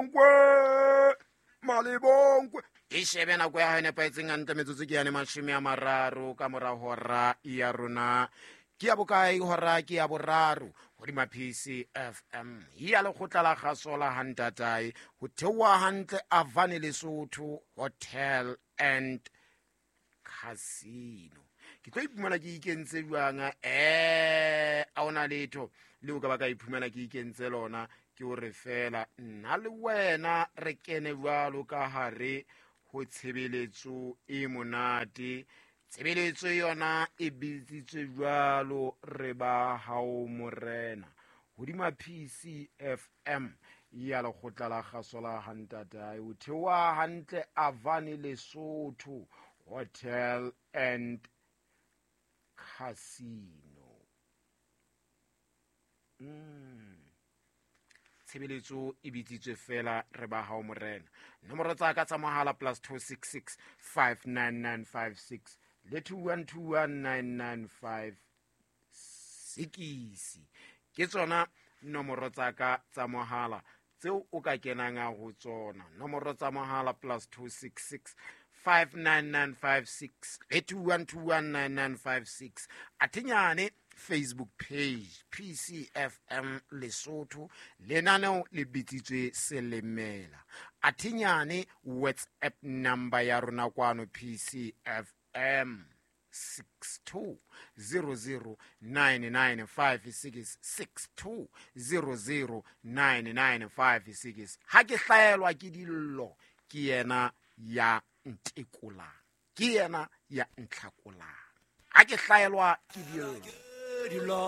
Malebonkwe, Malebonkwe. E shebe nako ya hae nepahetseng hantle, metsotso ke yane 30 ka mora hora ya rona. Ke ya bokae hora? Ke ya boraro hodima PCFM ya lekgotla la kgaso la hantatae ho theoha hantle Avane Lesotho Hotel and Casino. Ke tlo iphumana ke ikentse jwang? A ona letho le o ka ba ka iphumana ke ikentse lona, ke hore fela nna le wena re kene jwalo ka hare ho tshebeletso e monate. Tshebeletso yona e bitsitswe jwalo re ba hao morena hodima PCFM ya lekgotla la kgaso la hantatae o theoha hantle Avane Lesotho Hotel and Casino. Tshebeletso e bitsitswe fela re ba hao morena. Nomoro tsa ka tsa mohala plus 266 59956 le 2121995 6 ke tsona nomoro tsa ka tsa mohala tseo o ka kenang a ho tsona. Nomoro tsa mohala plus 266 59956 le 2121996. Athenyane Facebook page PCFM Lesotho, lenaneo le bitsitswe Selemela. Athenyane WhatsApp number ya rona kwano PCFM 62009956, 62009956. Ha ke hlaelwa ke dillo, ke yena ya ntekolang, ke yena ya ntlhakolang. Ha ke hlaelwa ke dillo.